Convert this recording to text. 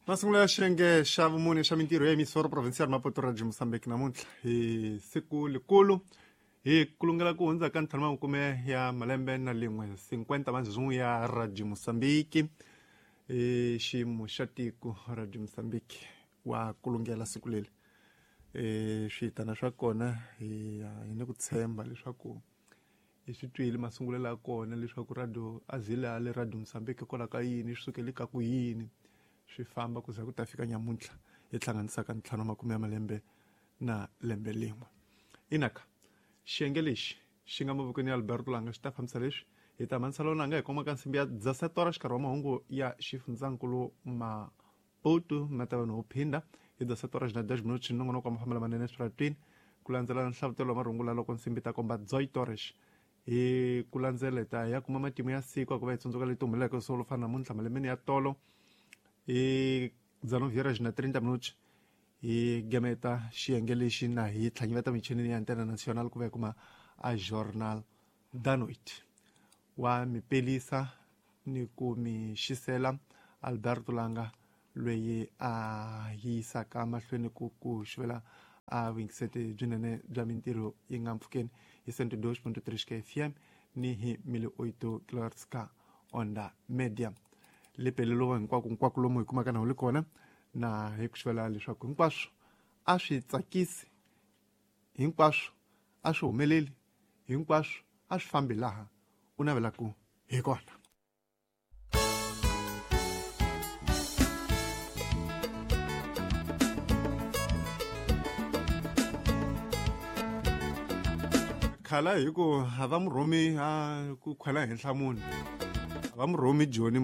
Masungulo ya xiyenge xa vumune xa mintirho ya emisoro provincial Maputo Radio Mozambique namuntlha hi siku likulu hi kulungela ku hundza ka ntlhanu makume ya malembe na lin'we 50 mazungu ya Radio Mozambique i xiyimo xa tiko Radio Mozambique wa kulungela siku leri switana swa kona hi hi ni ku tshemba leswaku hi swi twile masungulelo ya kona leswaku radio a zile a le Radio Mozambique hikwalaho ka yini swi sukele ka ku yini swi famba ku za ku ta fika nyamuntlha hi hlanganisaka ntlhanu makume ya malembe na lembe lin'we inaka xiyenge lexi xi nga mavokweni ya Alberto Langa xi ta fambisa leswi hi ta manisela lona nga hi koma ka nsimbi ya dzasetora xikarhi wa mahungu ya xifundzankulu Maputo ma ta vanhu wo phinda hi dzasetora xina 10 minutos nongonoko wa mafambelo manene eswiratwini ku landzela nhlavutelo wa marungula loko nsimbi ta komba dzoy torres hi ku landzela hi ta ya kuma matimu ya siku a ku va hi tsundzuka leti humeleleke swo fana namuntlha malembeni ya tolo hi 19 horas na 30 minutos hi gemeta xiyenge lexi na hi tlhanyiveta michinini ya antena national ku va hi kuma a journal da noite wa mi pelisa ni ku mi xisela Alberto Langa loyi a yisaka mahlweni ku ku xivela a vuyingiseti byinene bya mintirho yi nga mpfhukeni hi 102.3 FM ni hi 1008 kilohertz ka onda media lepelelo hinkwako hinkwako lomu hi kumaka na wu li kona na hi ku xivela leswaku hinkwaswo a swi tsakisi hinkwaswo a swi humeleli hinkwaswo a swi fambi laha u navelaka hi kona. Khala hi ku a va mu rhumi a ku khwela henhla munhu a va mu rhumi joni.